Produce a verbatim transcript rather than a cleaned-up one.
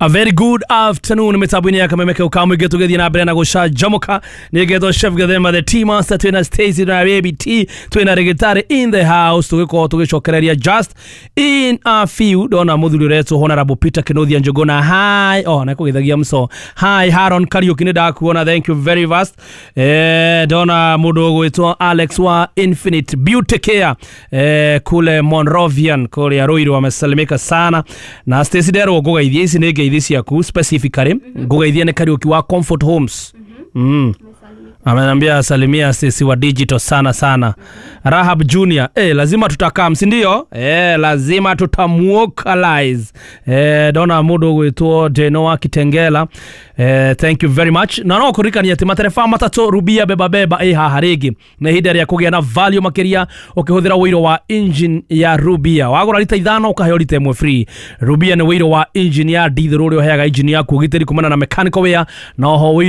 A very good afternoon mitambo-inĩ ya Kameme kau ka mũingĩ. Tũgĩthiĩ na mbere na gũcanjamũka. Nĩ ngetwo Chef Gathema the Tea Master, twĩna Stacy na Baby T, twĩna Rĩgĩtarĩ in the house. Tũgĩkorwo tũgĩcokereria just in a few. Ndona mũthuri ũretwo Honorable Peter Kĩnuthia Njũgũna, hi. Oh, na kũgeithagia mso. Hi Haron Kariuki, nĩ ndakuona, thank you very fast. eh ndona mũndũ ũgwĩtwo Alex wa Infinite Beauty Care eh, kule Monrovian kũrĩa Ruiru, amesalimika sana. Na Stacy, nderwo ngũgeithie, ici nĩ ngeithi ciaku specifically, ngũgeithie nĩ Kariuki wa Comfort Homes. mm. Amenambia salimia Stacy wa digital sana sana. Rahab Junior, eh, lazima tutakam, si ndio? Eh, lazima tutamuokalize. Eh, ndona mundu gwitwo Deno wa Kitengela. Eh, thank you very much. Na no kuririkania ati matereba matatu Rubia beba beba ĩ haha rĩngĩ. Na ihinda rĩa kũgĩa na value makĩria ũkĩhũthĩra ũiro wa engine ya Rubia. Wagũra rita ithano ũkaheo rita ĩmwe free. Rubia nĩ ũiro wa engine ya diesel ũrĩa ũheaga engine yaku ũgitĩri kumana na mechanical wear na oho ũiro